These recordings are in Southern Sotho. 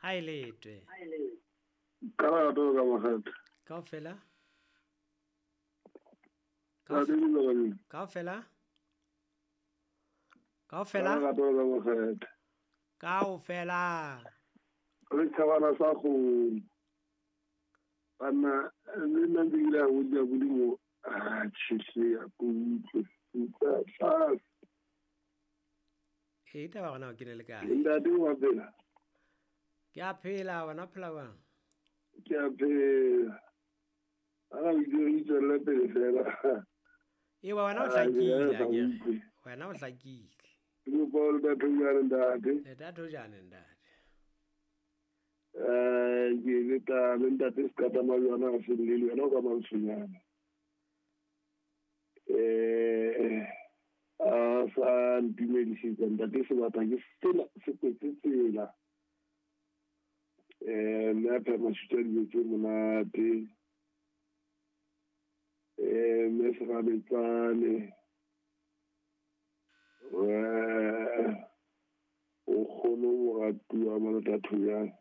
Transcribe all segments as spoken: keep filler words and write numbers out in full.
Ha ile twe. Ka la to ka mogat. Kaofela? Ka Kaofela? Kaofela? Ka la to ka mogat. Kaofela. Re tshabana sa go bana le nna ke ile go ja bodimo a tshise ya go utlwe utlwa e taba gona ke ne le kae ntate wa phela ke a phela wena phela bang ke a phela ana o ile o tswela pele fela e wa wena o hlakile akere wena o hlakile ke bol ba thujana ntate le ta thujana ntate eh ke le ta le ntate se ka tsamaya yona ga se le yona ka mantshonyana eh a sa ntumedisitse ntate se batla ke sena se kwetse tsela eh mme a phema sutsa dijo tse monate eh mme se rabetsane o kgone ho ratuwa mo thujana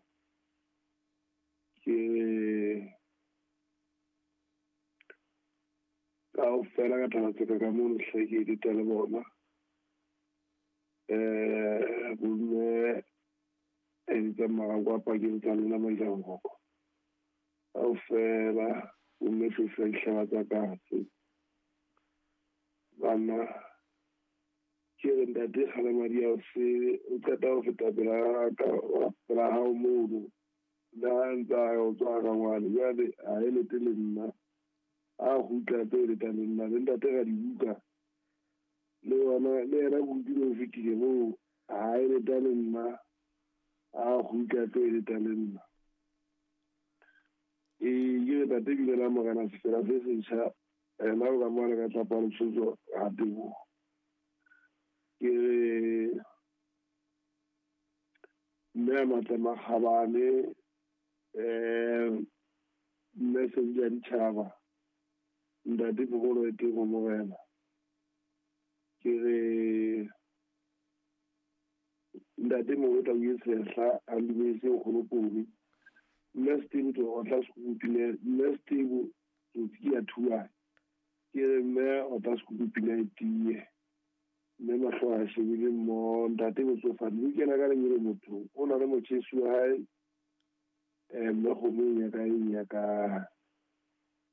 ke kaofela ka taba tse ka mono hle ke di le bona eh bomme e di tsamaya kwa pakeng tsa lona mailangoko kaofela bomme se dihlaba tsa katse bana ke re ntate Kgalemadi a se o qeta ho feta pela ka pela hao mono le ha ntsa o tswa ka ngwane jwale a e lete le nna a gutla pele ta le nna le ntate ga dibuka le yona le yena kutlwile o fetile moo a e leta le nna a gutla pele ta le nna e ke re tate bile la morena sefela se setjha ena o ka mona ka tlapa letsotso ga tebogo ke re mme a matle makgabane eh mme se di ditjhaba ntate bogolo e teng go morena ke re ntate mongwe tla o sehla a dumetse kgolopone mme Steve to otla sekukupile mme Steve tsotsi ke ya thuane ke re mme otla sekukupile e tie mme mahlo a shebile mo ntate botsofadi o kena ka lenyele motho o na le motjhesi wa hae eh mme kgomo e nyaka e nyaka